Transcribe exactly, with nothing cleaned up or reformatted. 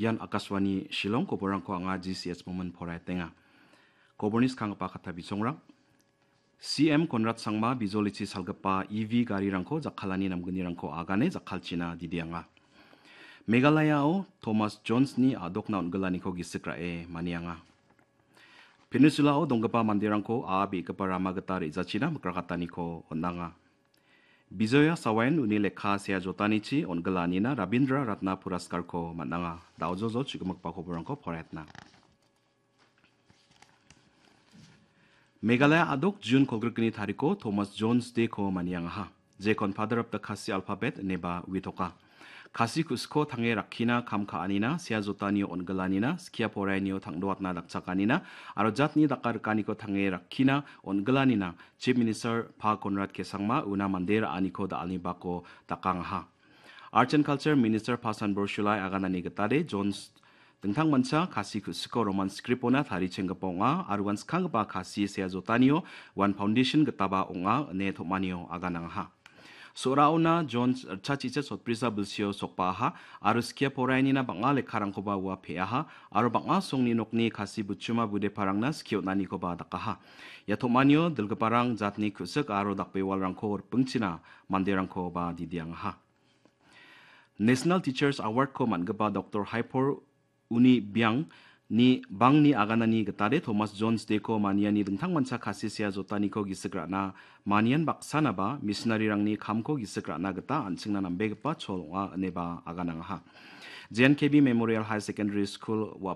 Ian Akashvani Shillong, koborangko anga G C S Momin poraetenga. Koborni skanggipa katta bisongrang. C M Konrad Sangma bijolichi salgipa E V garirangko jakkalani namgnirangko agane jakkalchina didianga. Meghalayao Thomas Jonesni a·dokna on·gilaniko gisik ra·e manianga. Peninsula-o donggipa manderangko a·a be·gipa rama gita re·jachina mikrakataniko on·anga. Bijoya Sawain uni lekka sea jotanichi on·gilanina Rabindra Ratna Puraskarko man·anga. Da·ojojo chu·gimikba koborangko poraetna. Meghalaya a·dok June kolgrikni tariko Thomas Jones Day-ko maniangaha. Jekon Father of the Khasi alphabet ineba uitoka. Khasi ku·siko tange rakkina kam ka·anina, sea jotanio on·gilanina, skia porainio tangdoatna dakchakanina, aro jatni dakarikaniko tange rakkina on·gilanina, Chief Minister Pa Konrad K Sangma una mande ra·aniko da·alni bako dakangaha. Arts and Culture Minister Pa Sanbor Shulai aganani gitade Jones dingtangmancha Khasi ku·siko Roman script-ona tarichenggipa ong·a, aro uan skanggipa Khasi sea jotanio uan foundation gitaba ong·a ine tom·anio aganangaha. So·raona Jones ritchachicha sotbrisa bilsio sokbaaha, aro skia porainina bang·a lekkarangkoba ua pe·aha, aro bang·a songni nokni Khasi butchuma budeparangna skie on·anikoba dakaha. Ia tom·anio dilgiparang jatni ku·sik aro dakbewalrangko ripingchina manderangkoba didiangaha. National Teachers Award-ko man·gipa Doktor Haipor Uni Biang ni bangni aganani gitade Thomas Jones Day-ko maniani dingtangmancha Khasi sea jotaniko gisik ra·na manian baksanaba missionary-rangni kamko gisik ra·na gita an·chingna nambegipa chol ong·a ineba aganangaha. J N K B Memorial Higher Secondary School-o